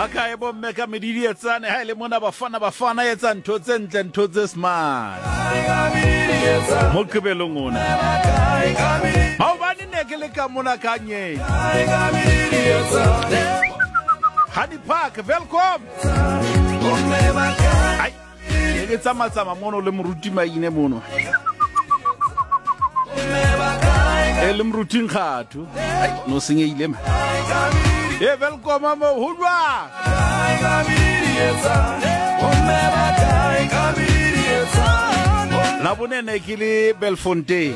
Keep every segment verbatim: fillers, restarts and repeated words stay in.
A kae bomme ka medidietsane ha e le mona Bafana Bafana etsa ntho tse ntle, ntho tse smart Moqebelong ona. Maobane ne ke le ka mona ka nye Honey Park, welcome. Ai, ne ke tsamatsama mono le moruti Maine mono, e le moruti Nkgatho. Ai, no senyehile ma. E welcome mo ho jwang? La bone ne ke le Belfontein.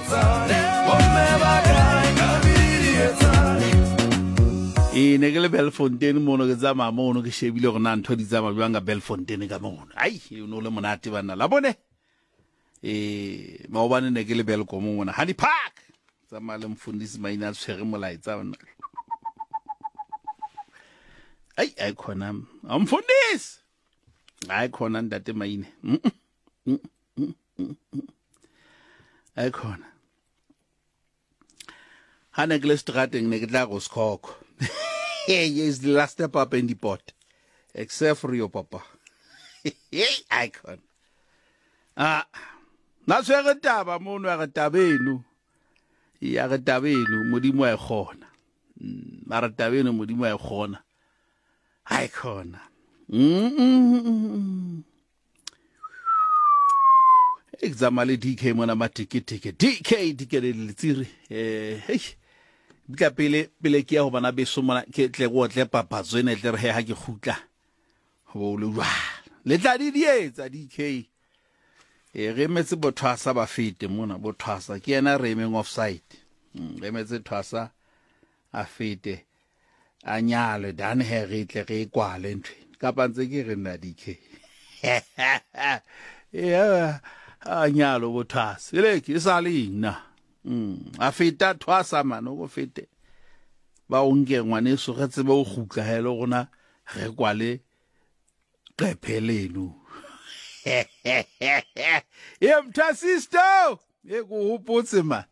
E ne ke le Belfontein mono, ke tsamaya mono, ke shebile hore na ntho di tsamaya jwang ka Belfontein ka mono. Ai, e no le monate banna. La bone. E maobane ne ke le Welkom mona Honey Park. Tsamaya le mfundisi Maine a tshwere molaetsa ona. Ai, ai khona. Mfundisi. Ai khona ntate Maine. Mm mm mm mm. Ai khona. Ha ne ke le strateng ne ke tla go sekhokho. Hey, is the last step up in the pot. Except for your papa. Hey, ai khona. Ah, na tshwere taba mono ya re taba eno. Ya re taba eno Modimo a e kgona. Mara taba eno Modimo a e kgona. Ai khona. Mm. Examale le D K mona matikitiki. D K D K le letsiri. Eh, hey. Bika pele pele ke ya ho bana beso mona ke tle go tle papatso ene tle re he ha ke kgutla. Ho le jwa. Le tla di dietsa D K. E re emetse bothwasa ba fete mona, bothwasa ke yena re emeng offside. Re emetse thwasa a fete. A nyalwe dan he re tle re kwale ntwe. Kapa ntse ke re nna D K. Yeah, a nyalo bothwasa. Ile ke sa le nna. Mm, a feta thwasa man o fete. Ba o nke ngwaneso re tsebe o kgutla hele rona re kwale qephe leno. E mthasisto, e go hopotse man.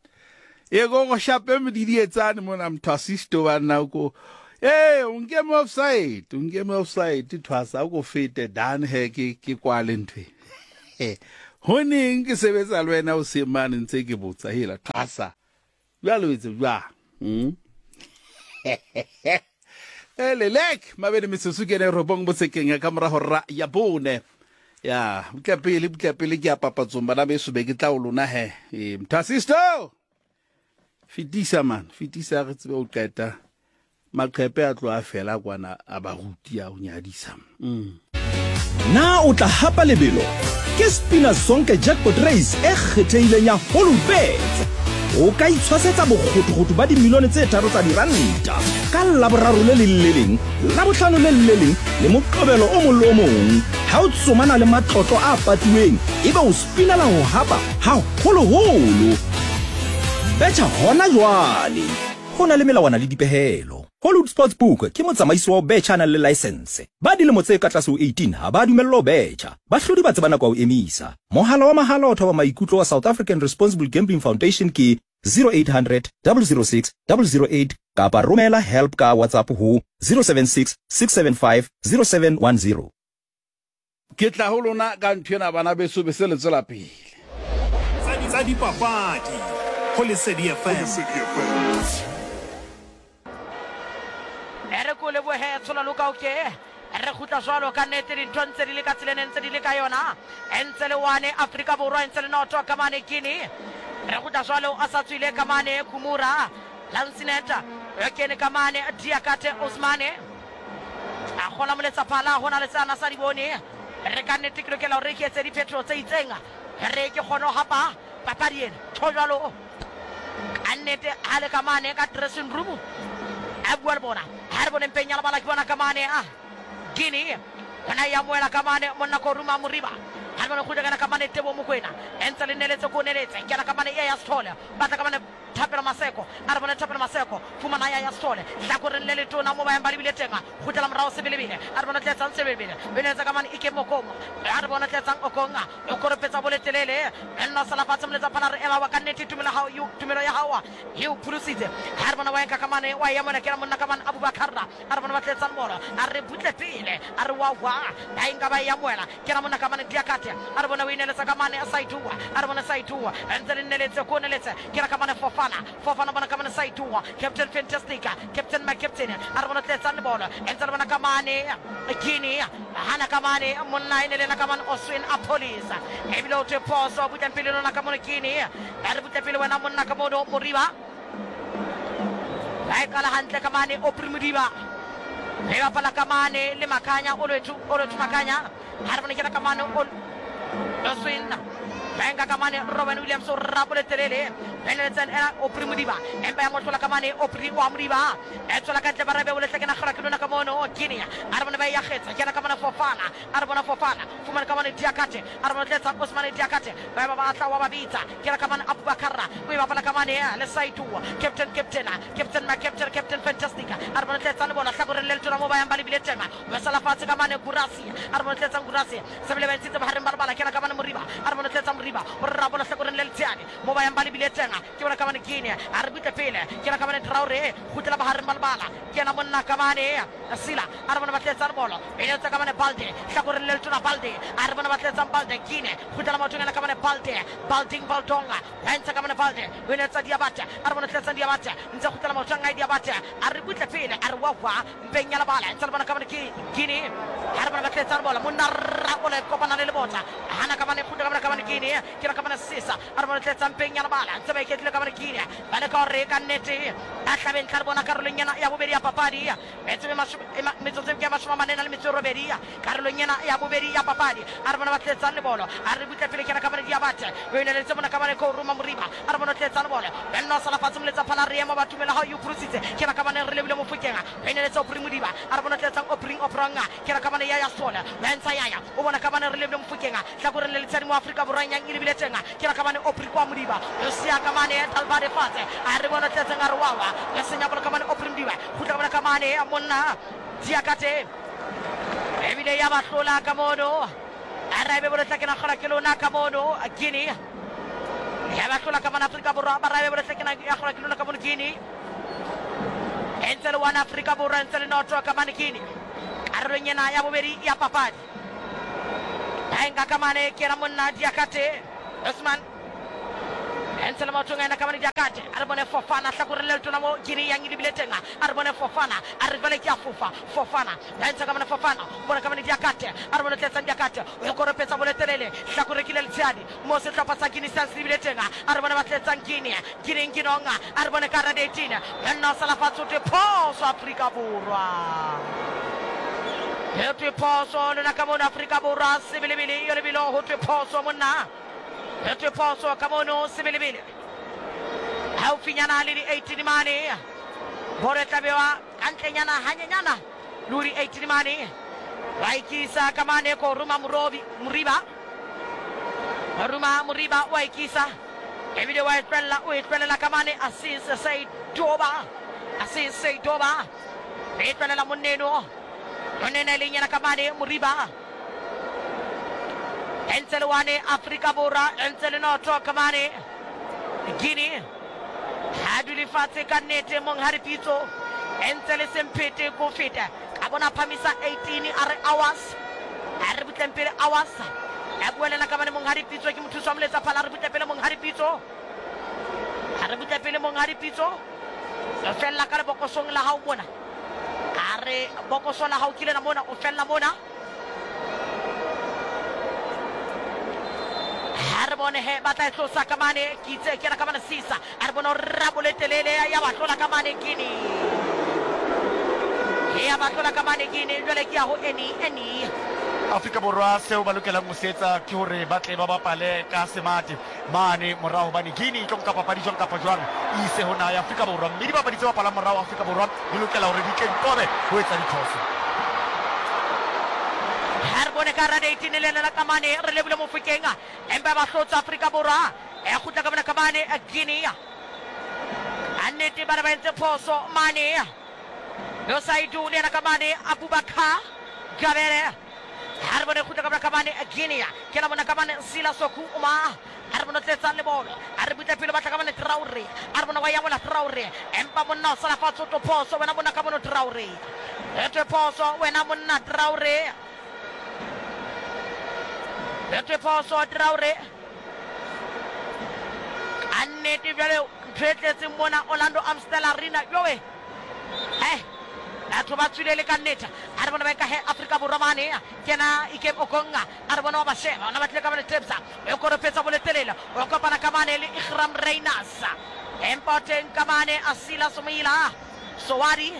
E go go shape medidietsane mona mthasisto ba nna ko. Eh, o nke mo offside, o nke mo offside thwasa o go fete dan he ke ke kwale ntwe. Ho neng ke sebetsa le wena o se mane ntse ke botsa hela thwasa. Jwale o etse jwang? Mm. Ele lek mabedi metsotso ke ne robong botsekeng ka mora hora ya bone. Ya, butla pele butla pele ke ya papatsong bana beso be ke tla o lona he. Eh, mthasisto. Fetisa man, fetisa re tsebe o qeta. Maqhepe a tlo a fela kwana a baruti a o nyadisa. Mm. Na o tla hapa lebelo? Ke Spina Zonke Jackpot Race e kgethehileng ya Hollywoodbets. O ka itshwasetsa bokgothokgotho ba dimilione tse tharo tsa diranta ka Laboraro le leng le leng, Labohlano le le leng le Moqebelo o mong le o mong. Ha o tsomana le matlotlo a patuweng, ebe o spinela ho hapa haholoholo. Betjha hona jwale. Ho na le melawana le dipehelo. Hollywood Sportsbook ke motsamaisi wa ho betjha a nang le license. Ba dilemo tse ka tlase ho eighteen ha ba dumellwa ho betjha. Bahlodi ba tseba nako ya ho emisa. Mohala wa mahala o thoba maikutlo wa South African Responsible Gambling Foundation ke zero eight hundred, double zero six, double zero eight kapa romela help ka WhatsApp ho zero seven six, six seven five, zero seven one zero. Ke tla ho lona ka ntho ena bana beso be se le tswela pele. Tsa dipapadi ho Lesedi F M. Re ko lebohe tshola loka o ke re kgutla jwalo ka nnete dintho ntse di le ka tseleng ntse di le ka yona ntse le one Afrika Borwa ntse le noto ka mane Guinea re kgutla jwalo a sa tswile ka mane Kumura Lansineta e kene ka mane Diakate Osmane a kgola moletsa phala hona le tsana sa di bone re ka nnete ke lokela hore ke etse diphetho tse itseng re ke kgone ho hapa papadi ena tho jwalo ka nnete ha le ka mane ka dressing room a bua le bona ha re bone mpeng ya lebala ke bona ka mane a Guinea ona ya moela ka mane monna Koruma Moriba Ha re bone kgutla kana ka mane Tebo Mokoena e ntse le neletse ko neletse kena ka mane e ya Sithole batla ka mane Thapelo Maseko a re bone Thapelo Maseko fumana ya ya Sithole hlakoreng le letona mo ba yang ba lebile teng kgutlela morao Sebelebele a re bone tletsang Sebelebele o neletse ka mane Ike Mokomo a re bone tletsang Okonga o koropetsa boletelele nna sala fatshe moletsa phala re ema wa ka nnete tumelo hao tumelo ya hao e o pholositse. Ha re bona wa enka ka mane wa ya mona kena monna ka mane Abubakar a re bona ba tletsang bolo a re butle pele a re wa wa ba enka ba ya moela kena monna ka mane Diakate a re bona o ineletsa ka mane Saidua a re bona Saidua ntse le neletse ko neletse kena ka mane Fofana Fofana bona ka mane Saidua Captain Fantastic Captain my Captain a re bona tletsang bolo ntse le bona ka mane Guinea hana ka mane monna ene lena ka mane Oswin Apolis ebile o thwe phoso butlang pele lona ka mone Guinea a re butle pele wena monna ka mono Moriba ba e qala hantle ka mane Aubrey Modiba e bapala ka mane le Makanya Olwethu Olwethu Makanya ha re bone kena ka mane Oswin Benga ka mane Robin Williams o rapole telele beneletseng ena Aubrey Modiba empa ya mohlola ka mane Aubrey wa Modiba e tswela ka ntle ba rebe o letle kena kgora ke lona ka mono Guinea a re bone ba ya kgetsa kena ka mane Fofana a re bona Fofana fumana ka mane Diakate a re bone tletsa Osman Diakate ba ba batla wa ba bitsa kena ka mane Abubakar o e bapala ka mane le Saidua Captain Captain Captain my Captain Captain Fantastic a re bone tletsa le bona hlakoreng le letona mo ba yang ba lebile teng ba sala fatshe ka mane Gurasi a re bone tletsa Gurasi sebele ba ntshitse bohareng ba lebala kena ka mane Moriba a re bone tletsa Moriba o re rabola hlakoreng le letshehadi mo ba yang ba lebile teng ke bona ka mane Guinea a re butle pele ke na ka mane Traore kgutlela bohareng ba lebala ke yena monna ka mane Sila a re bona ba tletsang bolo e letsa ka mane Balde hlakoreng le letona Balde a re bona ba tletsang Balde Guinea kgutlela maotong ena ka mane Balde Balding Baldonga ba ntsha ka mane Balde o letsa Diabate a re bona tletsang Diabate ntse kgutlela maotong a Diabate a re butle pele a re wa wa mpeng ya lebala ntse le bona ka mane Guinea a re bona ba tletsang bolo monna rabola e kopana le lebota hana ka mane kgutlela ka mane Guinea ke na ka mane Sisa a re bona tletsang mpeng ya lebala ntse ba iketlile ka mane Guinea ba leka hore ka nnete ba hlabeng tlha re bona karolong ena ya bobedi ya papadi metsotso ke mashome a mane na le metso e robedi karolong ena ya bobedi ya papadi a re bona ba tletsang lebolo a re butle pele ke na ka mane Diabate o ineletse mona ka mane ko Ruma Moriba a re bona tletsang lebolo benna sala fatshe moletsa phala re ema ba tumela ha o pholositse ke na ka mane re lebile Mofokeng o ineletse Aubrey Modiba a re bona tletsang Aubrey Opranga ke na ka mane ya ya Sole ba ntsha yaya o bona ka mane re lebile Mofokeng hlakoreng le letshadi mo Afrika Borwa yang e lebile teng ke na ka mane Aubrey kwa Modiba o sia ka mane Talbade fatshe a re bona tletseng a re wawa ya senya bolo ka mane Aubrey Modiba kgutla ka bona ka mane monna Diakate ebile ya ba hlola ka mono a raebe boletla ke na kgora ke lona ka mono Guinea ya ba hlola ka mane Afrika Borwa ba raebe boletla ke na ya kgora ke lona ka mono Guinea e ntse le one Afrika Borwa e ntse le noto ka mane Guinea karolong ena ya bobedi ya papadi ba enka ka mane ke yena monna Diakate Osman ntse le maotong a ena ka mane Diakate a re bone Fofana hlakoreng le letona mo Guinea yang e lebile teng a re bone Fofana a re jwale ke a fofa Fofana ba ntsha ka mane Fofana o bona ka mane Diakate a re bone tletsang Diakate o koropetsa boletelele hlakore ke le letshehadi mo sehlopha sa Guinea se lebile teng a re bone ba tletsang Guinea Guinea Nkinonga a re bone ka hara eighteen banna o sala fatshe o thwe phoso Afrika Borwa ho thwe phoso lona ka mono Afrika Borwa Sebelebele yo lebelo ho thwe phoso monna ho thwe phoso ka mono Sebelebele haufinyana le di-eighteen mane bolo e tla bewa ka ntlenyana hanyenyana le ho di-eighteen mane ba ikisa ka mane ko Ruma Morobi Moriba Ruma Moriba wa ikisa ebile wa e tlohella o e tlohella ka mane Asis Saidoba Asis Saidoba e tlohella monneno monneno e leng yena ka mane Moriba ntse le one Afrika Borwa ntse le noto ka mane Guinea ha dule fatshe ka nnete monghadi Pitso ntse le semphete ko feta ka bona phamisa eighteen a re hours a re butleng pele hours a buelela ka mane monghadi Pitso ke mothusi wa moletsa phala a re butle pele monghadi Pitso a re butle pele monghadi Pitso o fella ka lebokosong la hao mona a re bokoso la hao ke lena mona o fella mona ha re bone he ba tla e tlosa ka mane ke itse ke yena ka mane Sisa a re bone o rabole telele ya ba tlola ka mane Guinea ya ba tlola ka mane Guinea jwale ke ya ho eni eni Afrika Borwa seo ba lokelang ho se etsa ke hore ba tle ba bapale ka semate mane morao hobane Guinea e tlo nka papadi jwang kapa jwang e ise ho naha ya Afrika Borwa mme dibapadi tse bapalang morao Afrika Borwa di lokela hore di tle di qobe ho etsa diphoso. Ha re bone ka hara eighteen le lena ka mane re lebile Mofokeng empa ba hlotsa Afrika Borwa e kgutla ka mona ka mane Guinea a nnete bana ba entse phoso mane yo Saidu le yena ka mane Abubakar Gabere ha re bone kgutla ka mona ka mane Guinea ke la bona ka mane Sila Soku uma a re bone tletsa le bolo a re butle pele batla ka mane Traore a re bona wa ya bona Traore empa monna o sala fatshe o tlo phoso wena monna ka mono Traore e phoso wena monna Traore e phoso Traore a nnete bjale ntho e tletseng mona Orlando Amstel Arena yowe eh batho ba tswile le ka nnete a re bona ba ka he Afrika Borwa mane ke na Ikem Okonga a re bona wa ba sheba ona ba tlile ka mane Tebza e koropetsa boletelela o kopana ka mane le Igram Reynas empa teng ka mane Asila Somila Sowadi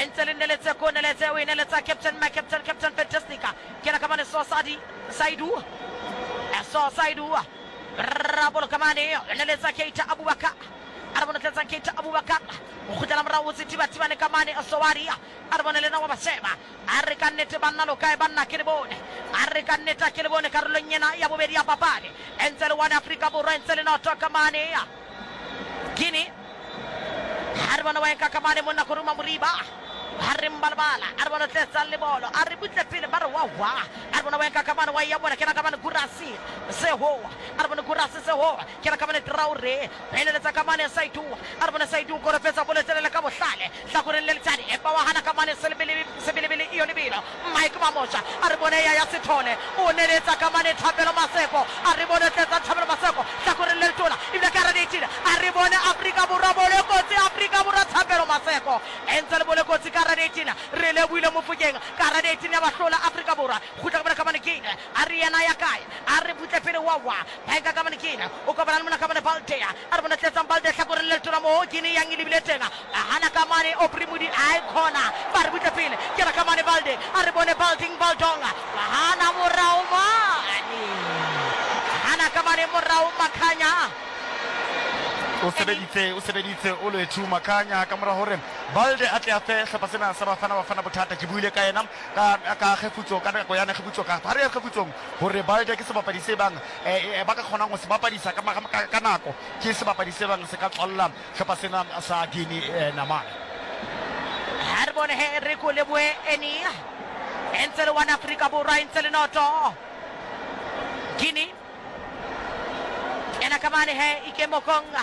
ntse le neletse ko neletse o e neletsa captain my captain captain Fantastica ke na ka mane Sosadi Saidu So Saidu Rabolo kamane neletsa Keita Abubakar a re bone tletsa Keita Abubakar o kgutlela morao o sethibathibane ka mane Sowadi a re bone le na wa ba sheba a re ka nnete banna lo kae banna ke le bone a re ka nnete ke le bone karolong ena ya bobedi ya papadi e ntse le one Afrika Borwa e ntse le noto ka mane Guinea ha re bone wa enka ka mane monna Koruma Moriba ha re mbalabala a re bone tletsa le bolo a re butle pele ba re wa wa a re bone wa enka ka mane wa ya bona ke na ka mane Gurasi Sehoa a re bone Gurasi Sehoa ke na ka mane Traore peleletsa ka mane Saidu a re bone Saidu korofetsa boletselele ka bohlale hlakoreng le letsadi empa wa hana ka mane Sebelebele Sebelebele iyo lebelo Mike Mamosha a re bone ya ya Sethole o neletsa ka mane Thapelo Maseko a re bone tletsa Thapelo Maseko hlakoreng le letona ebile ka re eighteen a re bone Afrika Borwa bole kotsi Afrika Borwa Thapelo Maseko entse le bole kotsi ka eighteen re lebohile Mofokeng ka hara eighteen ya bahlola Afrika Borwa kgutla ka mona ka mane Guinea a re yena ya kae a re butle pele wa wa ba enka ka mane Guinea o kopana le mona ka mane Balde a re bona tletsang Balde hlakoreng le letona mo Guinea yang e lebile teng a hana ka mane Aubrey Modi a e khona ba re butle pele ke ra ka mane Balde a re bone Balding Baldonga wa hana morao mane hana ka mane morao Makhanya o sebeditse o sebeditse o Lwethu Makhanya ka mora hore Balde a tle a fe hlopha sena sa Bafana Bafana bothata ke buile ka yena ka ka kgefutso ka nako ya kgefutso ka ha re ya kgefutsong hore Balde ke sebapadi se bang ba ka kgonang ho se bapadisa ka ka nako ke sebapadi se bang se ka tswalla hlopha sena sa Guinea namane ha re bone he re ko leboe eni ntse le one Afrika Borwa ntse le noto Guinea ena ka mane he Ikem Okonga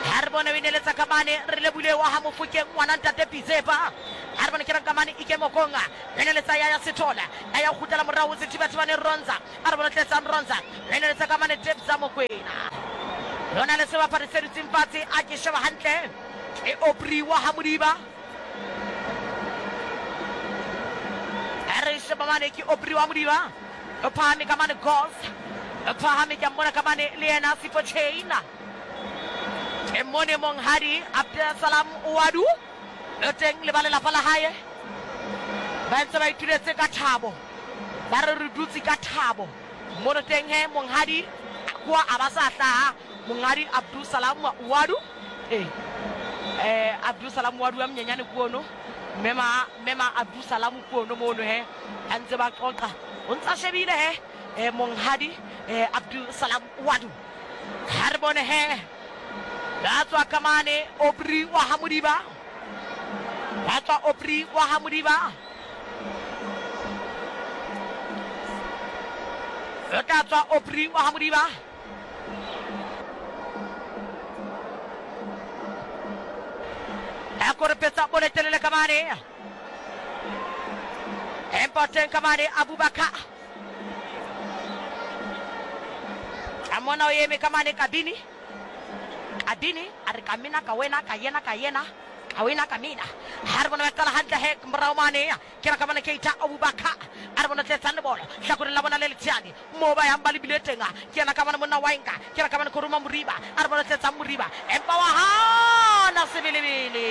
ha re bone o ineletsa ka mane re lebile wa ha Mofokeng ngwana ntate Pitsepa ha re bone ke ka mane Ikem Okonga ineletsa ya ya Sethole a ya kgutlela morao sethibathibane Ronza a re bone tletsang Ronza ineletsa ka mane Tebza Mokwena lona le sebapadi se dutseng fatshe a ke sheba hantle e Aubrey wa ha Modiba a re sheba mane ke Aubrey wa Modiba o phahame ka mane Gos o phahame ke mmona ka mane le yena Sipho Chain e mone monghadi Abdel Salam Ouaddou o teng le ba lelapa la hae ba ntse ba ituletse ka thabo ba re re dutse ka thabo mono teng he monghadi kwa a ba sa hlaha monghadi Abdul Salam Ouaddou eh eh Abdul Salam Ouaddou a monyenyane kuono mema mema Abdul Salam kuono mono he a ntse ba qoqa o ntsa shebile he eh monghadi eh Abdul Salam Ouaddou ha re bone he ba tswa ka mane Aubrey wa ha Modiba ba tswa Aubrey wa ha Modiba o tla tswa Aubrey wa ha Modiba a korepetsa boletelele ka mane empa teng ka mane Abubakar a mona o eme ka mane kabini Kabini a re ka mina ka wena ka yena ka yena ka wena ka mina ha re bona ba qala hantle he morao mane ke ra ka mane Keita Abubakar a re bona tletsang le bolo hlakoreng la bona le letshadi mo ba yang ba lebile teng ke yena ka mane monna wa enka ke ra ka mane Koruma Moriba a re bona tletsang Moriba empa wa hana Sebelebele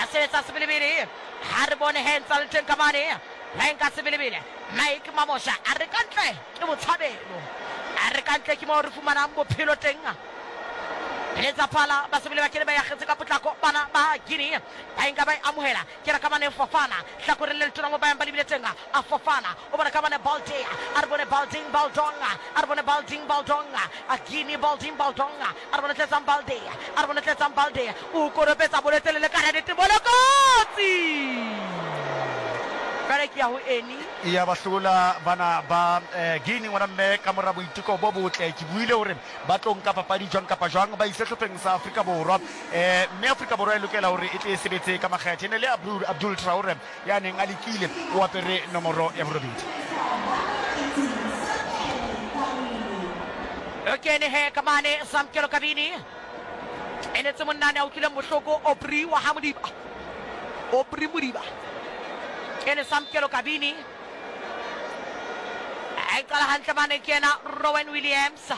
a sebetsa Sebelebele ha re bone he ntsa le teng ka mane ba enka Sebelebele Mike Mamosha a re ka ntle ke botshabelo a re ka ntle ke mo re fumanang bophelo teng Letsa phala ba sebele ba kene ba yakgetse ka potlako bana ba Guinea ba enka ba e amohela ke ra ka bane Fofana hlakoreng le letona mo ba yang ba lebile teng a Fofana o bona ka bane Balde a re bone Balding Baldonga a re bone Balding Baldonga a Guinea Balding Baldonga a re bone Tletsang Balde a re bone Tletsang Balde o koropetsa bolo telele ka radete bolo kotsi jwale ke ya ho Eni ya ba hlola bana ba eh, Guinea ngwana mme ka mora boiteko bo botle. Ke buile hore ba tlo nka papadi jwang kapa jwang ba ise hlopheng sa Afrika Borwa, eh mme Afrika Borwa e lokela hore e tle e sebetse ka makgethe. E ne le Abdul, Abdul Traore ya neng a lekile, o apere nomoro ya borobedi. O kene he ka mane Samkelo Kabini e netse monnane a utlwileng bohloko Aubrey wa ha Modiba Aubrey Modiba kene Samkelo Kabini a e qala hantle mane ke yena Rowan Williams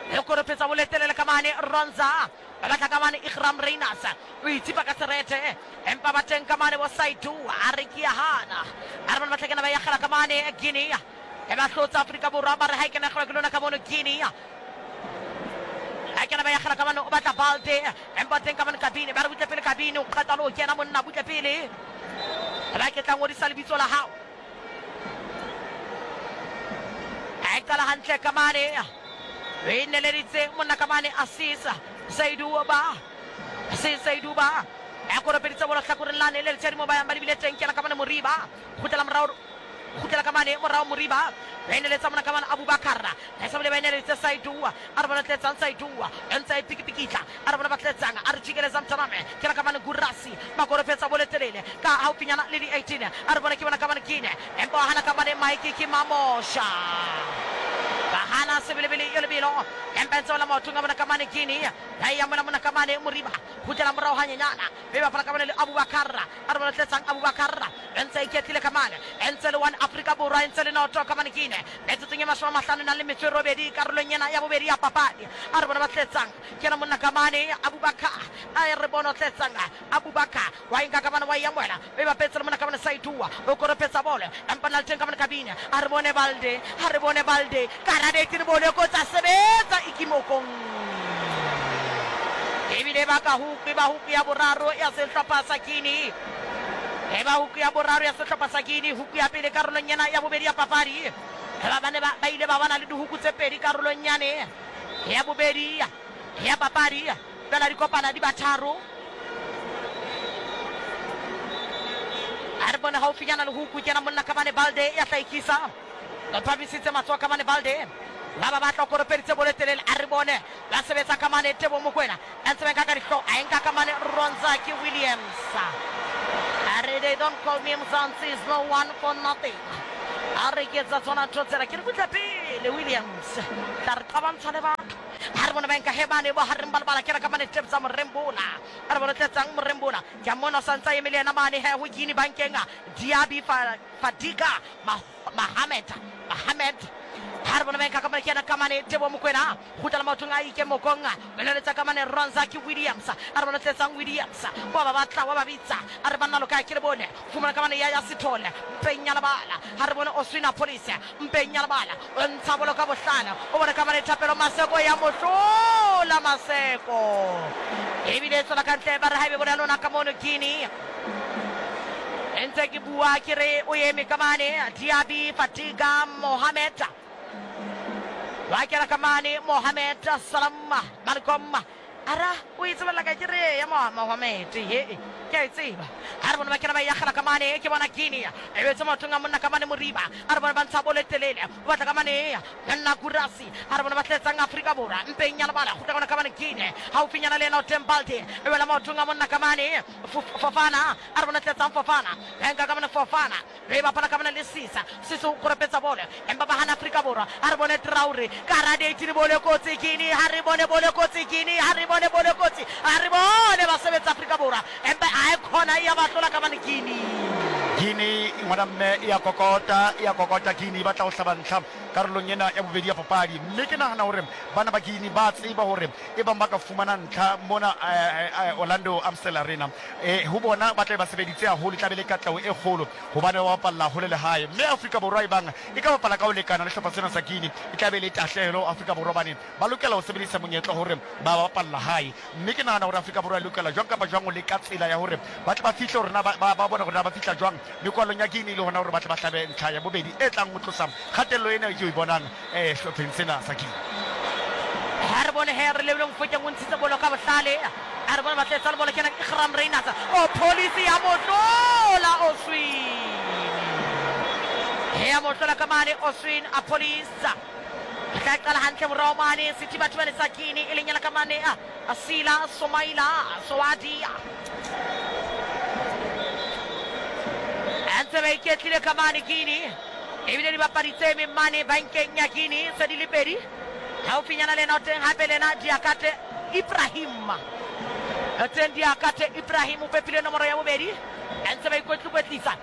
e koropetsa boletelele ka mane Ronza ba batla ka mane Ikram Reinas o itsipa ka serete empa ba teng ka mane bo Saidu a re ke ya hana a re bana ba tla kena ba yakgela ka mane Guinea e ba hlotsa Afrika Borwa ba re ha e kena kgela ke lona ka mono Guinea a kena ba yakgela ka mane o batla Balde empa teng ka mane Kabini ba re butle pele Kabini o qeta le ho kena monna butle pele ba ke tla ngodisa lebitso la hao a e qala hantle ka mane o e neleditse monna ka mane Asisa Saidu ba Asisa Saidu ba a koropeditse bolo hlakoreng lane le letshedi mo ba yang ba lebile teng kena ka mane Moriba kgutlela morao kgutlela ka mane morao Moriba ba e neletsa monna ka mane Abubakar ba sa bile ba e neleditse Saidu a re bona tletsang Saidu e ntse a e pikipikitla a re bona ba tletsang a re jikeleza mtaname kena ka mane Gurasi ba koropetsa bolo telele ka haufinyana le di eighteen a re bona ke bona ka mane Guinea empa wa hana ka mane Mike ke Mamosha ba hana sebelebele yo lebelo empa ntse wela maotong a bona ka mane Guinea ba e ya mona mona ka mane Moriba kgutlela morao hanyenyana mme bapala ka mane le Abubakar a re bona tletsang Abubakar e ntse a iketlile ka mane e ntse le one Afrika Borwa e ntse le noto ka mane Guinea metsotsong e mashome a mahlano nang le metso e robedi karolong ena ya bobedi ya papadi a re bona ba tletsang ke yena monna ka mane Abubakar a re bona o tletsang Abubakar wa enka ka mane wa e amohela mme bapetse le monna ka mane Saidua o koropetsa bolo empa na le teng ka mane Kabini a re bone Balde a re bone Balde karadete le bolo kotsa sebetsa ikimokong ebile ba ka huku ba huku ya boraro ya sehlopha sa Guinea e ba huku ya boraro ya sehlopha sa Guinea huku ya pele karolong ena ya bobedi ya papadi ba bane ba ba ile ba bana le dihuku tse pedi karolong yane ya bobedi ya papadi fela di kopana di ba tharo a re bone haufinyana le huku kena monna ka mane Balde ya hlahikisa ba phamisitse matsoho ka mane Balde ba ba batla koropeditse bolo telele a re bone ba sebetsa ka mane Tebo Mokoena a ntse ba nka ka dihlo a enka ka mane Ronza ke Williams a re they don't call me Mzansi is no one for nothing a re ke etsa tsona ntho tsena ke re butle pele Williams tla re qabantsha le batho a re bone ba nka he bane bo hareng ba lebala ke re ka mane Tebza Morembola a re bone tletsang Morembola ke a mmona o santse a eme le yena mane he ho Guinea bankeng Diaby Fadiga Mohamed Mohamed ha re bona ba nka ka mane ke yena ka mane Tebo Mokoena kgutlela maotong a Ike Mokong beleletsa ka mane Ronza ke Williams a re bona tletsang Williams wa ba batla wa ba bitsa a re banna loka ke le bone fumana ka mane ya ya Sithole mpeng ya lebala ha re bone Oswina Police mpeng ya lebala o ntsha bolo ka bohlale o bone ka mane Thapelo Maseko ya mohlola Maseko ebile e tswela ka ntle ba re ha ebe bone ya lona ka mono Guinea e ntse ke bua ke re o eme ka mane Diaby Fadiga Mohamed wa kena ka mane Mohamed Salam Malcolm ara o e tsebella ka ke re ya Mohamed ye ke a e tseba a re bone ba kena ba yakgela ka mane ke bona Guinea e betse maotong a monna ka mane Moriba a re bone ba ntsha bolo e telele o batla ka mane nna Gurasi a re bone ba tletsang Afrika Borwa mpeng ya lebala kgutla kona ka mane Guinea haufinyana le yena o teng Balde e wela maotong a monna ka mane Fofana a re bone tletsang Fofana enka ka mane Fofana be bapala ka mane le Sisa Sisa o koropetsa bolo empa ba hana Afrika Borwa a re bone Traore ka radate le bolo kotsi Guinea ha re bone bolo kotsi Guinea ha re bone bolo kotsi a re bone ba sebetsa Afrika Borwa empa a e khona ya ba hlola ka mane Guinea Guinea ngwana mme e ya kokota e ya kokota Guinea e batla ho hlaba ntlha karolong ena ya bobedi ya papadi. Mme ke nahana hore bana ba Guinea ba tseba hore e bang ba ka fumana ntlha mona Orlando Amstel Arena, eh ho bona ba tla ba sebeditse haholo, tla be le katleho e kgolo hobane ba bapalla hole le hae. Mme Afrika Borwa e bang e ka bapala ka ho lekana le sehlopha sena sa Guinea, e tla be le tahlehelo Afrika Borwa bane ba lokela ho sebedisa monyetla hore ba bapalla hae. Mme ke nahana hore Afrika Borwa e lokela jwang kapa jwang ho leka tsela ya hore ba tle ba fihle hore na ba ba bona hore na ba fihla jwang mekwalong ya Guinea, le hona hore ba tle ba hlabe ntlha ya bobedi e tlang ho tlosa kgatello ena e ke o e bonang eh sehlopheng sena sa Guinea. Ha re bone he re lebile Mofokeng o ntshitse bolo ka bohlale. A re bone ba tletsa le bolo kena Iqraam Rayners. O police ya motlola Oswin. He ya motlola ka mane Oswin a police. Tla qala hantle morao mane Sethibathibane sa Guinea e leng yena ka mane Asila Somaila Soadia. Ntse ba iketlile ka mane Guinea. Ebile dibapadi tse emeng mane bankeng ya Guinea se di le pedi. Haufinyana le ena o teng hape le ena Diakate Ibrahim. O teng Diakate Ibrahim o pepile nomoro ya bobedi. Ntse ba ikwetlikwetlisa.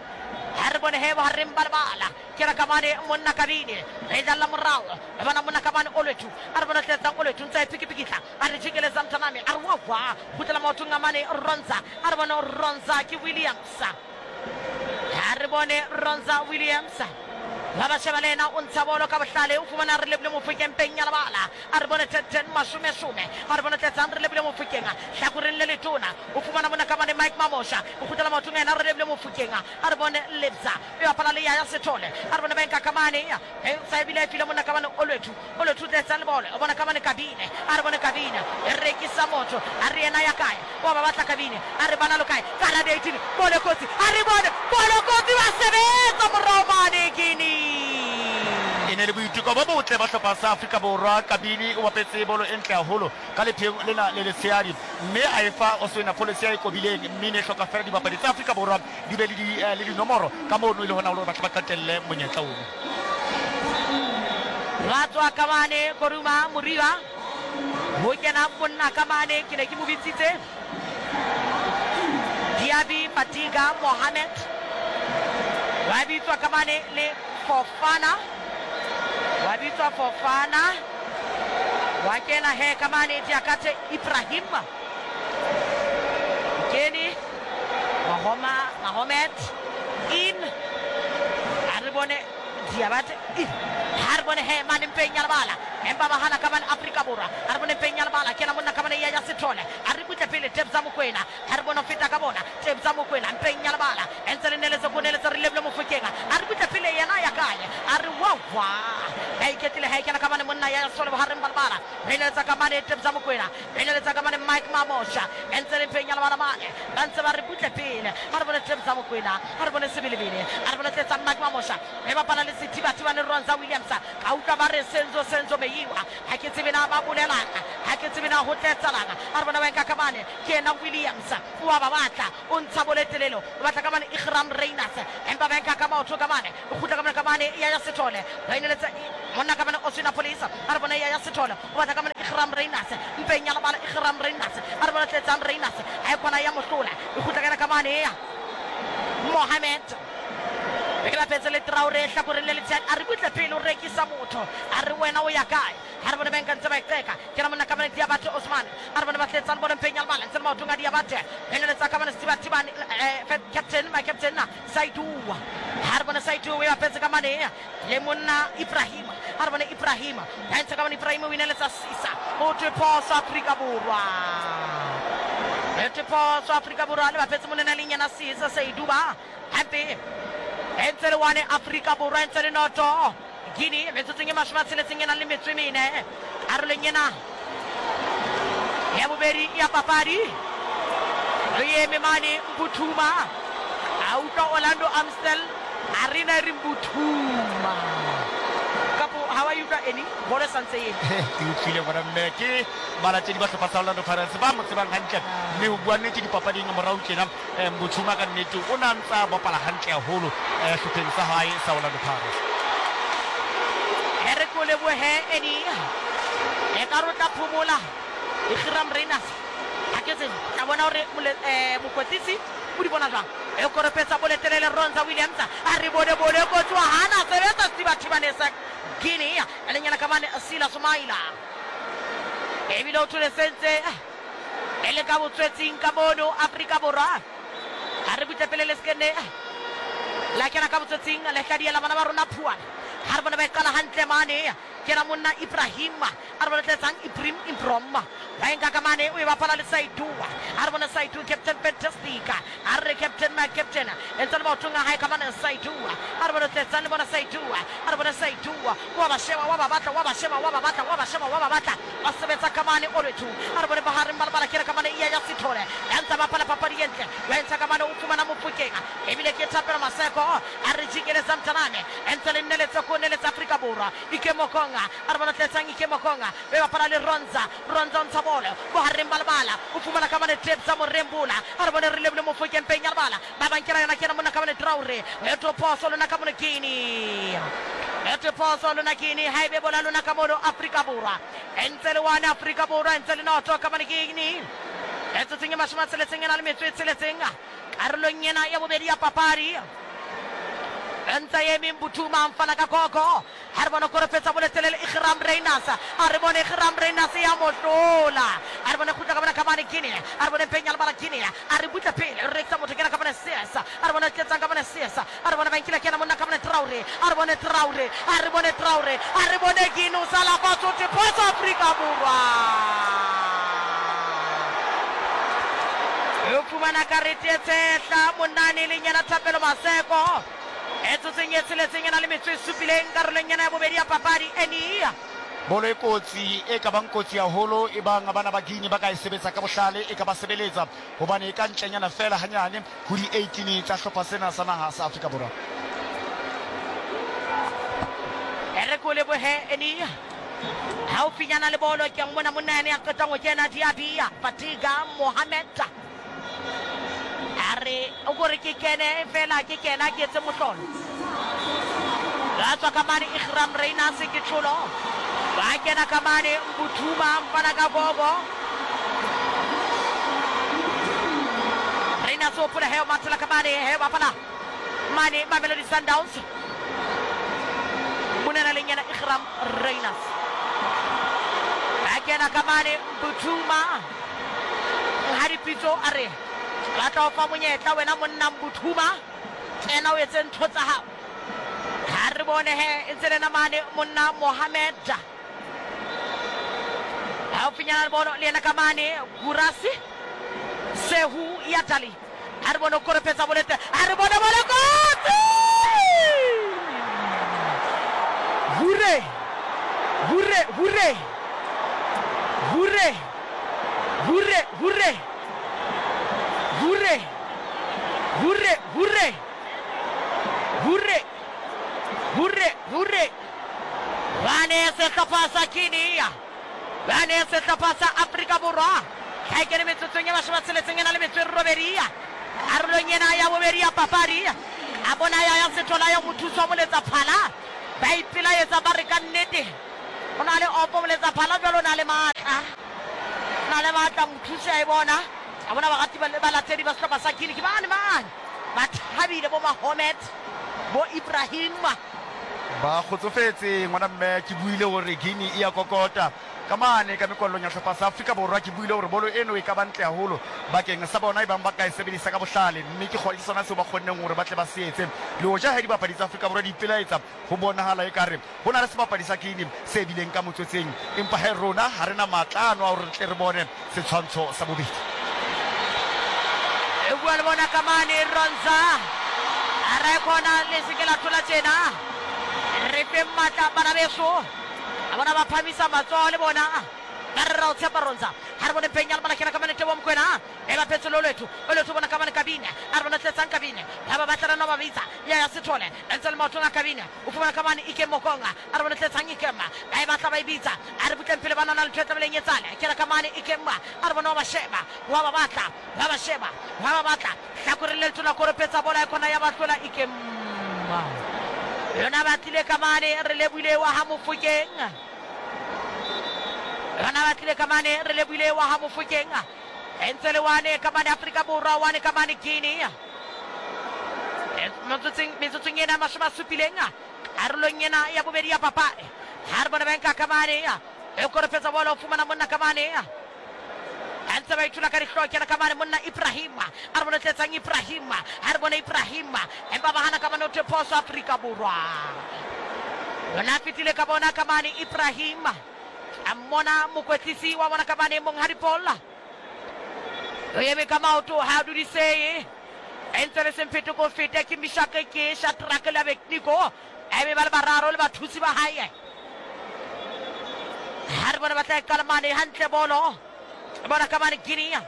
Ha re bone he bohareng ba lebala. Ke ra ka mane monna Kabine. Re dlalla morao. Re bona monna Kabane Olwethu. A re bona tletsang Olwethu ntse a ipikipikitla. A re jikeleza mthaname. A re wa wa. Kgutlela maotong a mane Ronza. A re bone Ronza ke Williams. Ha re bone Ronza Williams. Ba ba sheba le ena o ntsha bolo ka bohlale, o fumana re lebile Mofokeng peng ya lebala. A re bone ten mashome some. A re bone tletsang re lebile Mofokeng hlakoreng le letona. O fumana mona ka mane Mike Mamosha. O kgutlela maotong ena re lebile Mofokeng. A re bone Lebza. E bapala le ya Sethole. A re bone ba nka ka mane. E sa ebile e file mona ka mane Olwethu. Olwethu tletsang le bolo. O bona ka mane Kabine. A re bone Kabine. E rekisa motho. A re yena ya kae? O ba batla Kabine. A re bana lo kae? Ka la eighteen. Bolo kotsi. A re bone bolo kotsi ba sebetsa morao mane Guinea. E ne le boiteko bo botle ba hlopha sa Afrika Borwa. Kabini o bapetse bolo e ntle haholo ka lepheng lena le letshehadi, mme a e fa Oswin Appollis ya e kobileng, mme ne hloka fela dibapadi tsa Afrika Borwa di be le di le dinomoro ka mono e le hona hore ba tle ba qetelle monyetla ono. Ba tswa ka mane Koruma Moriba. Ho kena monna ka mane ke ne ke mo bitsitse Diaby Fatiga Mohamed. Wa bitswa ka mane le Fofana. Wa bitswa Fofana. Wa kena he ka mane Diakate Ibrahim. Kene Mahoma Mahomet in. A re bone Diabate in. Ha re bone he mane mpeng ya lebala. Empa ba hana ka mane Afrika Borwa. A re bone mpeng ya lebala. Kena monna ka mane ya ya Sethole. A re butle pele Tebza Mokoena. Ha re bone feta ka bona Tebza Mokoena mpeng ya lebala. Entse le neletse go neletse re lebile Mofokeng. A re butle pele yena ya kae? A re wa wa. Ba iketlile ha kena ka mane monna ya Sethole bohareng ba lebala. Re neletsa ka mane Tebza Mokoena. Re neletsa ka mane Mike Mamosha. Entse le mpeng ya lebala mane. Ba ntse ba re butle pele. Ha re bone Tebza Mokoena. Ha re bone Sebelebele. A re bone tletsa Mike Mamosha. Re bapala le Sethibathibane Ronza Williams. Ka utlwa ba re Senzo Senzo Meyiwa. Ha ke tsebe na ba bolelang. Ha ke tsebe na ho tletsalang. A re bona ba nka ka mane ke ena Williams. O a ba batla. O ntsha boletelelo. O batla ka mane Iqraam Rayners. Empa ba nka ka maoto ka mane. O kgutla ka mane ka mane ya ya Sethole. Ba ineletsa monna ka mane Oswin Appollis. A re bona ya ya Sethole. O batla ka mane Iqraam Rayners. Mpeng ya lebala Iqraam Rayners. A re bona tletsang Rayners. Ha e kwana ya mohlola. O kgutla ka ka mane ya Mohamed. Ke la petse le Traore hlakoreng le letshehadi. A re butle pele o rekisa motho. A re wena o ya kae? Ha re bone ba nka ntse ba iqeka. Ke ra monna ka mane Diabate Osman. A re bone ba tletsang bone mpeng ya lebala. Ntse le maotong a Diabate. Eneletsa ka mane Sethibathibane captain my captain Saidu. Ha re bone Saidu o bapetse ka mane le monna Ibrahim. Ha re bone Ibrahim. Ba ntse ka mane Ibrahim o ineletsa Sisa. O thwe phoso Afrika Borwa. E thwe phoso Afrika Borwa le bapetse monena le nyana Sisa Saidu ba. Hape ntse le wane Afrika Borwa ntse le noto Guinea metsotsong e mashome a tsheletseng e nang le metso e mene karolong ena ya bobedi ya papadi. Re eme mane Mbuthuma. A utlwa Orlando Amstel Arena e re Mbuthuma. Kapo ha wa utlwa eni bolo santse e ke utlwile bona mme ke balatedi ba hlopha sa Orlando Pirates ba mo tsebang hantle, mme ho bua nnete dipapading morao tjena Mbuthuma ka nnete o na ntsa bapala hantle haholo hlopheng sa hae sa Orlando Pirates. E re ko lebohe eni e ka rotla phomola Iqraam Rayners. Ha ke tsebe ka bona hore mokwetlisi o di bona jwang. E koropetsa boletelele Ronza Williams a re bone bone kotsi wa hana sebetsa Steve Thibane sa Guinea e leng yena ka mane Sila Sumaila ebile o thole sentse e le ka botswetsing ka mono Afrika Borwa a re butle pele le sekene la kena ka botswetsing le hladiela bana ba rona phuana ha re bone ba e qala hantle mane ke na monna Ibrahim a re bone tletsang Ibrahim Improm ba enka ka mane o e bapala le Saidua a re bone Saidu captain fantastic a re captain my captain e ntse le maotong a hae ka mane Saidua a re bone tletsang le bona Saidua a re bone Saidua wa ba sheba wa ba batla wa ba sheba wa ba batla wa ba sheba wa ba batla ba sebetsa ka mane Olwethu a re bone bahareng ba lebala ke re ka mane iya ya Sithole ya ntse bapala papadi e ntle wa ntsha ka mane o fumana Mofokeng ebile ke Thapelo Maseko a re jikeletsang mtaname e ntse le nneletsa ko neletsa Afrika Borwa Ike Mokonga a re bone tletsang Ike Mokonga be bapala le Ronza Ronza o ntsha bolo bohareng ba lebala o fumana ka mane Tebza Morembola a re bone re lebile Mofokeng peng ya lebala ba bankela yona ke yena monna ka mane Traore eto phoso lona ka mone Guinea eto phoso lona Guinea ha ebe bola lona ka mono Afrika Borwa e ntse le one Afrika Borwa e ntse le noto ka mane Guinea e tsotseng e mashome a tsheletseng e na le metso e tsheletseng karolong ena ya bobedi ya papadi ntse eme Mbuthuma mfana ka koko ha re bone korofetsa boletelele Igram Reiners a re bone Igram Reiners ya mohlola a re bone kgutla ka bona ka mane Guinea a re bone penya lebala Guinea a re butla pele re rekisa motho kena ka bone Sesa a re bone tletsang ka bone Sesa a re bone ba nkile kena monna ka bone Traore a re bone Traore a re bone Traore a re bone Guinea o sala fatshe o phoso Afrika Borwa o fumana karete e tshehla monnane le nyana Thapelo Maseko e tsotseng e tsheletseng e na le metso e supileng karolong ena ya bobedi ya papadi enia bolo e kotsi e ka bang kotsi haholo e bang bana ba Guinea ba ka e sebetsa ka bohlale e ka ba sebeletsa hobane e ka ntlenyana fela hanyane ho di eighteen tsa hlopha sena sa naha sa Afrika Borwa. E re ko lebohe enia haufinyana le bolo ke mmona monna yane ya qetang ho kena Diabia Fatiga Mohamed a re o kore ke kene fela ke kena ke etse mohlolo ba tswa ka mane Igram Reiners ke tsholo ba kena ka mane Mbuthuma mfana ka gogo Reiners o pula heo mathela ka mane heo bapala mane Mamelodi Sundowns monena le nyana Igram Reiners ba kena ka mane Mbuthuma ha dipitso a re ba tla o fa monyetla wena monna Mbuthuma ena o etse ntho tsa hao ha re bone he e ntse le mane monna Mohamed haufinyana le bono le yena ka mane Gurasi Sehu ya Tali ha re bone o korofetsa bolete ha re bone bole kotsi hure hure hure hure hure hure hure hure hure hure hure hure bane sehlopha sa Guinea bane sehlopha sa Afrika Borwa ha e kene metsotsong ya mashome a tsheletseng e na le metso e robedi karolong ena ya bobedi ya papadi a bona ya ya Sethola ya mothusi wa moletsa phala ba ipelaetsa ba re ka nnete o na le opo moletsa phala jwalo o na le matla o na le matla mothusi a e bona a bona barati ba balatedi ba sehlopha sa Guinea ke bane mane ba thabile bo Mohamed bo Ibrahim ba kgotsofetse ngwana mme ke buile hore Guinea e ya kokota ka mane ka mekollong ya hlopha sa Afrika Borwa ke buile hore bolo eno e ka ba ntle haholo bakeng sa bona e bang ba ka e sebedisa ka bohlale mme ke ke sona seo ba kgonneng hore ba tle ba se etse le hoja ha dibapadi tsa Afrika Borwa di ipelaetsa ho bonahala ekare ho na le sebapadi sa Guinea se bileng ka motswetseng empa he rona ha re na matla ano a hore re tle re bone setshwantsho sa bobedi. E bua le bona ka mane Ronza a re khona le se ke la thola tjena re fe matla bana beso a bona ba phamisa matsoho le bona ka re ra o tshepa Ronza ha re bone penya le bana kena ka mane Tebo Mokoena e ba phetse Lolwethu Olwethu bona ka mane Kabine a re bona tletsang Kabine ba ba batla rena ba bitsa ya ya Sithole e ntse le maotong a Kabine o fumana ka mane Ike Mokonga a re bone tletsang Ikema ba e batla ba e bitsa a re butleng pele ba nana le ntho e tlameleng e tsale kena ka mane Ikema a re bona wa ba sheba wa ba batla wa ba sheba wa ba batla hlakoreng le letona koropetsa bola e khona ya ba hlola Ikema yona ba tlile ka mane re lebohile wa ha Mofokeng yona ba tlile ka mane re lebohile wa ha Mofokeng e ntse le wane ka mane Afrika Borwa wane ka mane Guinea Metsotsong ena mashome a supileng karolong ena ya bobedi ya papadi. Ha re bone ba nka kamane e koropetsa bolo o fumana monna kamane a ntse ba ithula ka dihlooho kena kamane monna Ibrahim a re bone tletsang Ibrahim ha re bone Ibrahim empa ba hana kamane o thwe phoso Afrika Borwa. Yona fetile ka bona kamane Ibrahim a mmona mokwetlisi wa bona kamane Monghadi Paul o eme ka maoto ha a dudiseye e ntse le semphete ko fete ke Mishake ke Shadrack le Abednego ebe ba le bararo le bathusi ba hae. Ha re bone ba tla e qala mane hantle bolo bona kamane Guinea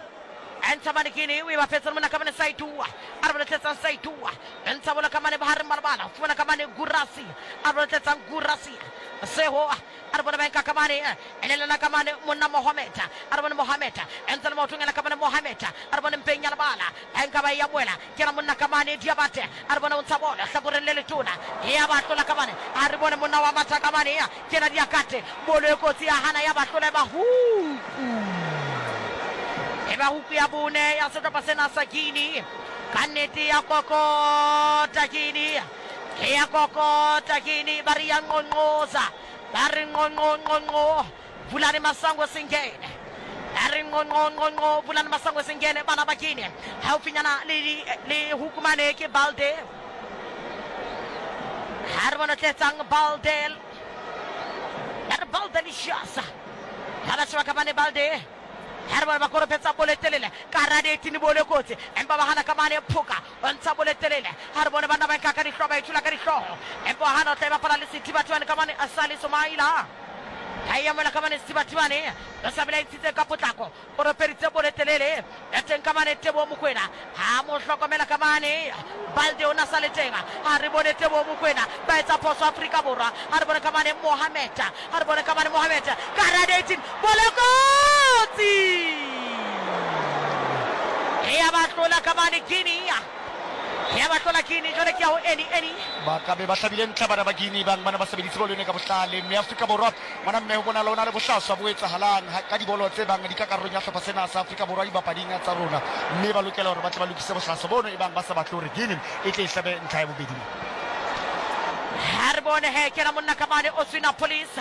ntsha mane Guinea o e bapetse le mona kamane Saitua a re bone tletsang Saitua ntsha bola kamane bohareng ba lebala fumana kamane Gurasi a re bone tletsang Gurasi Seho a re bone ba nka kamane elelana kamane monna Mohamed a re bone Mohamed ntse le maotong ena kamane Mohamed a re bone mpeng ya lebala a nka ba e amoela ke na monna kamane Diabate a re bone o ntsha bola hlakoreng le letona ya ba tlola kamane a re bone monna wa matha kamane ke na Diakate bolo e kotsi ya hana ya ba tlola e ba huku e ba huku ya bone ya sehlopha sena sa Guinea ka nnete ya kokota Guinea ya kokota Guinea ba re ya nqonqoza ba re nqonqonqonqo Vulani Masango singene ba re nqonqonqonqo Vulani Masango singene bana ba Guinea haufinyana le le hukumane ke Balde ha re bone tletsang Balde ya re Balde le Shasa ha ba sheba ka bane Balde ha re bone ba koropetsa bolo telele ka hara di-eighteen bolo kotsi empa ba hana kamane Phoka o ntsha bolo telele ha re bone banna ba nka ka dihlooho ba ithula ka dihlooho empa hana o tla e bapala le Sethibathibane kamane Asali Somaila ha e amoela kamane Sethibathibane o sa bela ntshitse ka potlako o ropeditse bolo telele ya teng kamane Teboho Mokoena ha mo hlokomela kamane Balde o na sa le teng ha re bone Teboho Mokoena ba etsa phoso Afrika Borwa ha re bone kamane Mohamed ha re bone kamane Mohamed ka hara di-eighteen bolo kotsi ya ba tlola kamane Guinea ya ba tlola Guinea jwale ke ya ho Eni Eni ba ka be ba hlabile ntlha bana ba Guinea bang bana ba sebeditse bolo ene ka bohlale mme Afrika Borwa ngwana mme ho bona lona le bohlaswa bo etsahalang ka dibolo tse bang di ka karolong ya hlopha sena sa Afrika Borwa dibapading tsa rona mme ba lokela hore ba tle ba lokise bohlaswa bono e bang ba sa batle hore Guinea e tle e hlabe ntlha ya bobedi. Ha re bone he kena monna kamane Oswina Police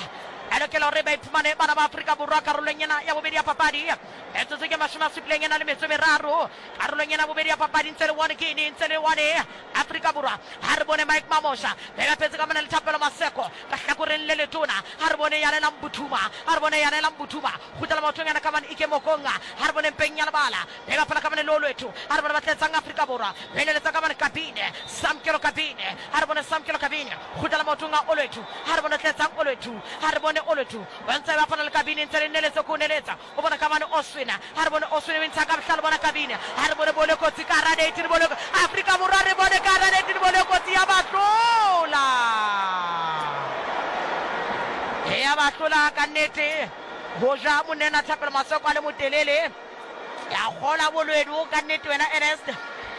a lokela hore ba iphumane bana ba Afrika Borwa karolong ena ya bobedi ya papadi metsotso ke mashome a supileng ena le metso e meraro karolong ena bobedi ya papadi ntse le one Guinea ntse le one Afrika Borwa. Ha re bone Mike Mamosha ba bapetse ka mona le Thapelo Maseko ka hlakoreng le letona ha re bone Yanela Mbuthuma ha re bone Yanela Mbuthuma kgutlela maotong yana kamane Ike Mokonga ha re bone mpeng ya lebala ba bapala ka mane Lolwethu ha re bone ba tletsang Afrika Borwa ba eletsa ka mane Kabine Samkelo Kabine ha re bone Samkelo Kabine kgutlela maotong a Olwethu ha re bone tletsang Olwethu ha re bone Olwethu ba ntse ba bapala le Kabine ntse le neletsa ko neletsa o bona kamane Oswina ha re bone Oswina o ntsha ka bohlale bona Kabine ha re bone bolo kotsi ka hara di-eighteen bolo Afrika Borwa re bone ka hara di-eighteen bolo kotsi ya ba tlola ya ba tlola ka nnete ho ja monena Thapelo Maseko a le motelele ya kgola bolwedu ka nnete wena Ernest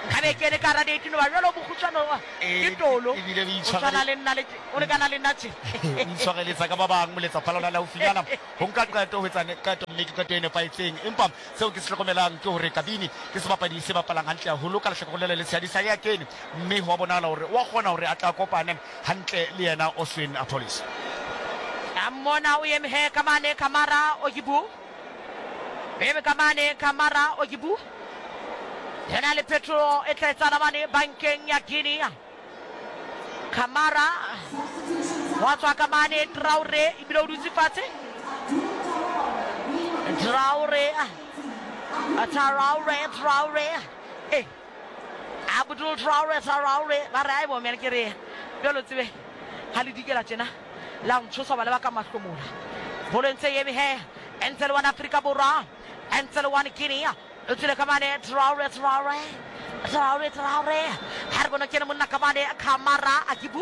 nkabe ke le ka hara di-eighteen ba jwalo bokgutshwane ke tolo o tshwana le nna le o lekana le nna tje o itshwareletsa ka ba bang moletsa phala ona le haufinyana ho nka qeto ho etsa qeto mme ke qeto e nepahetseng empa seo ke se hlokomelang ke hore Kabini ke sebapadi se bapalang hantle haholo ka lehlakoreng le le letshehadi sa ya kene mme ho a bonahala hore wa kgona hore a tla kopane hantle le yena Oswin Appollis. A mmona o eme he kamane Kamara Ogibu eme kamane Kamara Ogibu yena le Petro e tla etsana mane bankeng ya Guinea Kamara wa tswa kamane Traore ebile o dutse fatshe Traore Traore Traore eh Abdul Traore Traore ba re ai bo mele ke re jalo tsebe ha le dikela tjena la ntshosa ba le ba ka mahlomola bolo ntse eme he ntse le one Afrika Borwa ntse le one Guinea o tswile kamane Traore Traore Traore Traore ha re bone kene monna kamane Kamara Akibu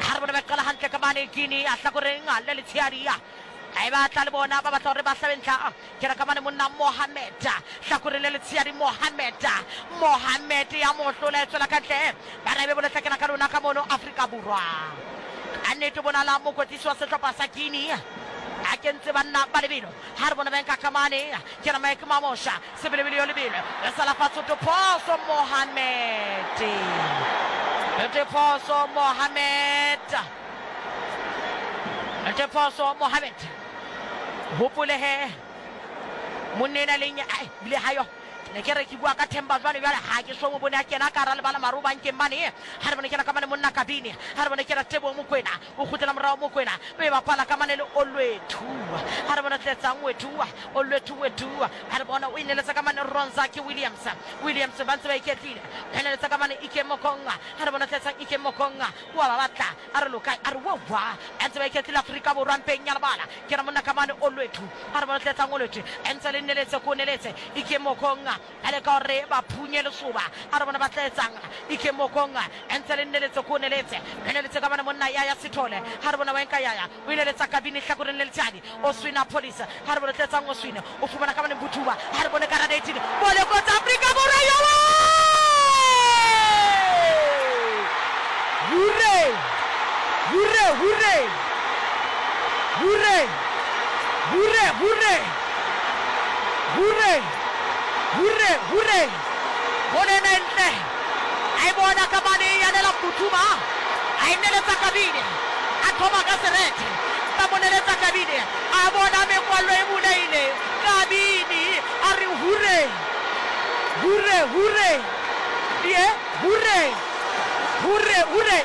ha re bone ba qala hantle kamane Guinea a hlakoreng le letshehadi a ba tla le bona ba batla hore ba hlabe ntlha ke ra kamane monna Mohamed hlakoreng le letshehadi Mohamed Mohamed ya mohlola e tswela ka ntle ba re be bolo hlakena ka lona ka mono Afrika Borwa ka nnete bonala mokwetlisi wa sehlopha sa Guinea A kentse banna ba lebelo ha re bona ba nka kamane ke na Mike Mamosha sebelebele yo lebelo le sala fatshe to Poso Mohamed te Poso Mohamed te Poso Mohamed hopole he monna leng ai bile hayo ne ke re ke bua ka Themba jwale jwale ha ke so mo bone a kena ka ra lebala maro bankeng mane ha re bone kena ka mane monna Kabini ha re bone kena Tebo Mokwena o kgutlela morao Mokwena o e bapala ka mane le Olwethu ha re bone tletsang Wethu Olwethu Wethu ha re bona o ineletsa ka mane Ronzaki Williams Williams ba ntse ba iketlile o ineletsa ka mane Ike Mokonga ha re bone tletsang Ike Mokonga wa ba batla a re loka a re wa wa ntse ba iketlile Afrika Borwa mpeng ya lebala kena monna ka mane Olwethu ha re bone tletsang Olwethu ntse le neletse ko neletse Ike Mokonga a le ka hore ba phunye lesoba a re bona ba tla etsang Ike Mokonga ntse le neletse ko neletse neletse ka bana monna ya ya Sithole ha re bona wa nka ya ya o ile letsa Kabini hlakoreng le letshadi o swina police ha re bona tletsang o swina o fumana ka bana Mbuthuma ha re bona ka radiating bole ko tsa Afrika Borwa yo hure hure hure hure hure hure hure hure hure bone ntle ai bona ka mane ya nela Mbuthuma ai neletsa Kabini a thoma ka serete ba mo neletsa Kabini a bona mekwalo e buleile Kabini a re hure hure hure ye hure hure hure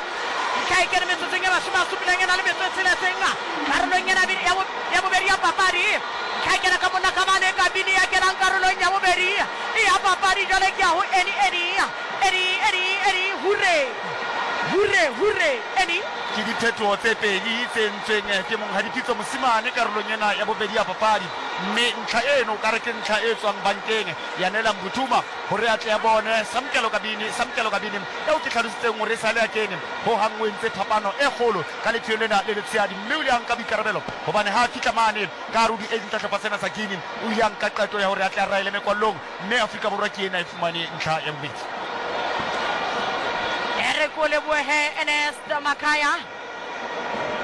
ntlha e kene metsotsong e mashome a supileng e na le metso e tsheletseng karolong ena ya bobedi ya papadi ntlha e kena ka monna ka mane Kabini ya kenang karolong ya bobedi ya papadi jwale ke ya ho Eni Eni Eni Eni Eni hure hure hure Eni ke diphetoho tse pedi tse entsweng ke monghadi Pitso Mosimane karolong ena ya bobedi ya papadi mme ntlha eno o ka re ke ntlha e tswang bankeng ya nela Mbuthuma hore a tle a bone Samkelo Kabini Samkelo Kabini eo ke hlalositseng hore e sale a kene ho hang o entse phapano e kgolo ka lepheo lena le letshehadi mme o ile a nka boikarabelo hobane ha a fihla mane ka hare ho di-eight tsa hlopha sena sa Guinea o ile a nka qeto ya hore a tle a raele mekwallong mme Afrika Borwa ke ena e fumane ntlha ya bobedi. Re ko lebohe Ernest Makaya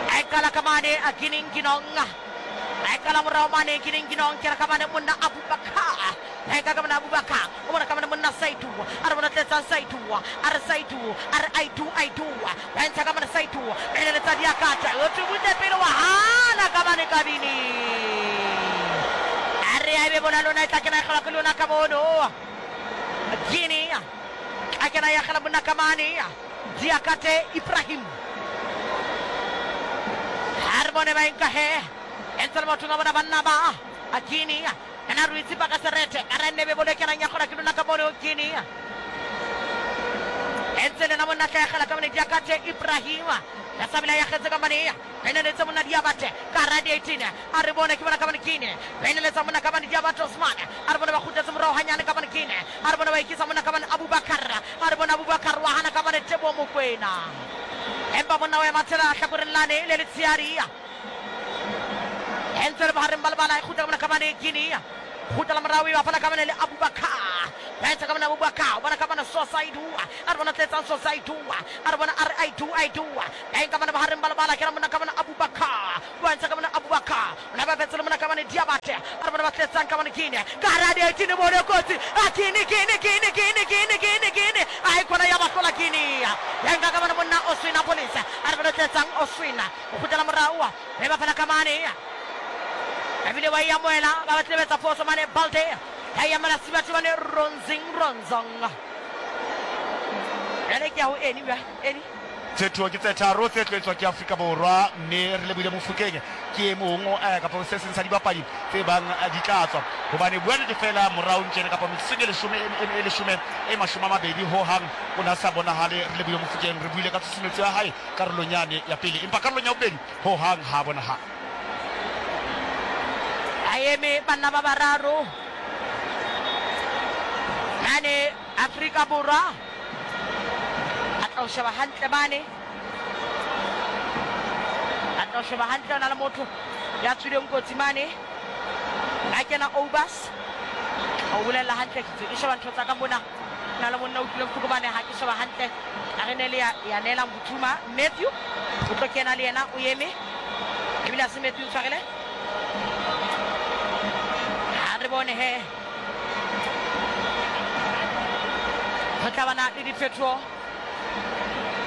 a qala ka mane a Guinea-Ginong a qala morao mane Guinea-Ginong ke re ka mane monna Abubakar a ka ka mane Abubakar o bona ka mane monna Saidu a re bona tletsang Saidu a re Saidu a re I do I do ba ntsha ka mane Saidu e le letsa diakata o tubute pele wa hana ka mane Kabini a re a be bona lona e tla kena e kgola ke lona ka mono Guinea a kena ya kgela monna ka mane Diakate Ibrahim ha re bone ba nka he ntse le batho ba bona banna ba a Guinea ena re itse ka serete a re nebe bole kenang ya kgona ke lona ka mono Guinea ntse le na monna tla kgela ka mane Diakate Ibrahim ya sabila ya kgetse ka mane ene le tsa monna Diabate ka radiating a re bone ke bona ka mane Guinea ene le tsa monna ka mane Diabate Osman a re bone ba kgutletse morao hanyane ka mane Guinea a re bone ba ikisa monna ka mane Abubakar a re bone Abubakar wa hana ka mane Tebo Mokwena empa monna wa mathela hlakoreng lane le letshehadi ntse le bohareng ba lebala e kgutla ka mona ka mane Guinea kgutlela morao e bapala ka mane le Abubakar ba etsa ka mane Abubakar o bona ka mane Sosaidu a re bona tletsang Sosaidu a re bona a re I do I do ba ka mane bohareng ba lebala ke ra monna ka mane Abubakar wa ntsha ka mane Abubakar o na ba betse le monna ka mane Diabate a re bona ba tletsang ka mane Guinea ka hara di-eighteen bone kotsi a Guinea Guinea Guinea Guinea Guinea Guinea Guinea a e khona ya ba hlola Guinea ya nka ka mane monna Oswina Police a re bona tletsang Oswina o kgutlela morao be bapala ka mane ebile wa e amohela ba batle betsa phoso mane Balde ya e amela Sibatho mane Ronzing Ronzong jwale ke ya ho Eni bja Eni Phetoho ke tse tharo tse tlo etswa ke Afrika Borwa mme re lebohile Mofokeng ke e mong eh, kapa se seng sa dibapadi tse bang eh, di tla tswa hobane bua nnete fela morao ntjene kapa metsotsong e leshome e leshome e mashome a mabedi ho hang o na sa bonahale. Re lebohile Mofokeng re buile ka tshusumetso ya hae karolong yane ya pele empa karolong ya bobedi ho hang ha bonahale. A eme banna ba bararo mane Afrika Borwa a tla o sheba hantle mane a tla o sheba hantle o na le motho ya tswileng kotsi mane a kena Obas o bolela hantle ke ke sheba ntho tsa ka mona na le monna o utlwile bohloko mane ha ke sheba hantle a re ne le ya ya neela Mbuthuma Matthew o tlo kena le yena o eme ebile a se Matthew tshwarele Ha re bone he go tla bana le diphetogo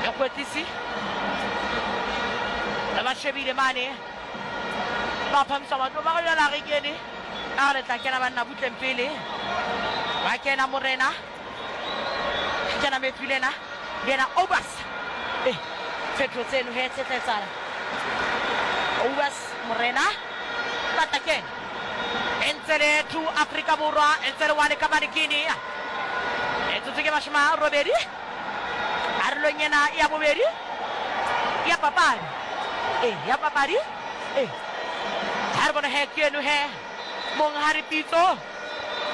mokwetlisi ba shebile mane ba phamisa matlo ba go jala re kene a re tla kena banna butleng pele ba kena morena kena methulena yena Obas eh phetogo tseno he tse tla etsala Obas morena ba tla kena ntse le two Afrika Borwa ntse le one ka Guinea etsotso ke mashome a robedi karolong ena ya bobedi ya papadi eh ya papadi eh ha re bone he ke eno he monghadi Pitso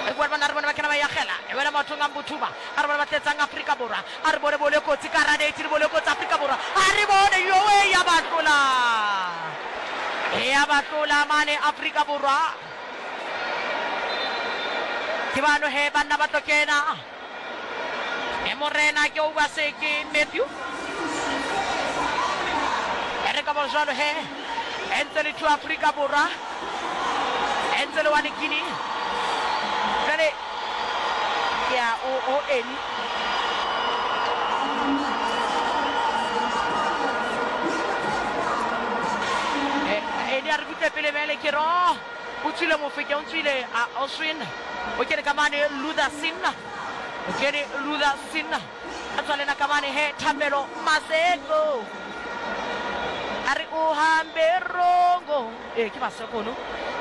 e bua bana re bone ba kena ba yagela e wela maotong a Mbuthuma a re bone ba tletsang Afrika Borwa a re bone bole kotsi ka radate le bole kotsi Afrika Borwa a re bone yowe ya ba tlola ya ba tlola mane Afrika Borwa ke bano he banna ba tlo kena e morena ke Obase ke Matthew e re ka bo jwalo he e ntse le two Afrika Borwa e ntse le one Guinea jwale ke ya o o eni eni a re butle pele bele ke re oh o tswile mofeke o tswile a Oswin o kene ka mane Luther Sinna o kene Luther Sinna a tswa lena ka mane he Thapelo Maseko a re o hambe rongo eh ke Maseko no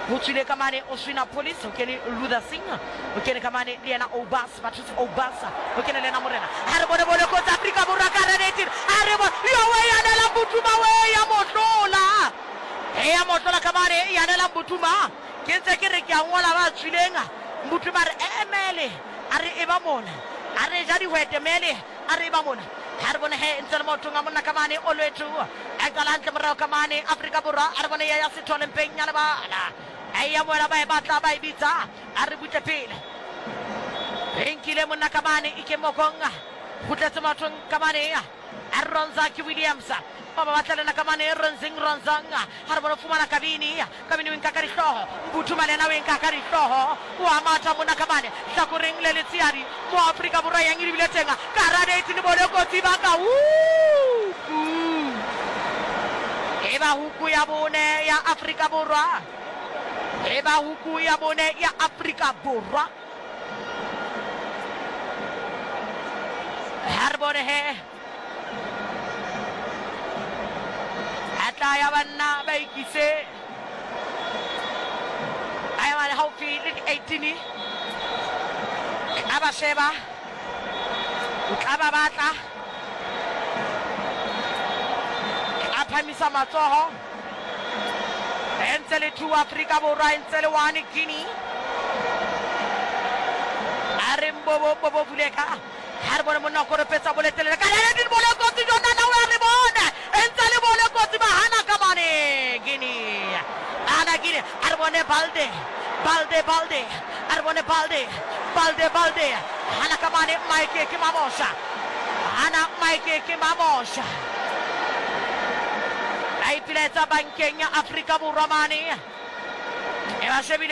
ho tswile ka mane Oswina Police o kene Luther Singa o kene ka mane le yena Obas Bathusi Obas o kene le yena morena ha re bone bole kotsi Afrika Borwa ka radate a re bone yo we ya nela Mbuthuma we ya motlola ya motlola ka mane ya nela Mbuthuma ke ntse ke re ke a ngola ba tswileng Mbuthuma re emele a re e ba mona a re ja dihwete mele a re e ba mona ha re bone he ntse le maotong a monna ka mane Olwethu a qala hantle morao ka mane Afrika Borwa a re bone ya ya Sithole mpeng ya lebala a ya moela ba e batla ba e bitsa a re butle pele e nkile monna ka mane Ike Mokong kgutletse maotong ka mane a Ronza ke Williams ba ba batla lena ka mane Ronzing Ronzang ha re bone fumana Kabini Kabini o nka ka dihlooho Mbuthuma le yena o nka ka dihlooho wa matha monna ka mane hlakoreng le letshehadi mo Afrika Borwa yang e lebile teng ka radate le bole kotsi ba ka huku e ba huku ya bone ya Afrika Borwa e ba huku ya bone ya Afrika Borwa ha re bone he a tla ya banna ba ikise a ya mane haufi le di-eighteen a ba sheba o tla ba batla a phamisa matsoho e ntse le two Afrika Borwa e ntse le one Guinea a re mbobo mbobo vuleka ha re bone monna o koropetsa boletelele ka lele di bole kotsi jona we re bone e ntse le bole kotsi ba hana ka mane Guinea ana Guinea a re bone Balde Balde Balde a re bone Balde Balde Balde hana ka mane Mike ke Mamosha hana Mike ke Mamosha a ipilaetsa bankeng ya Afrika Borwa mane e ba shebile.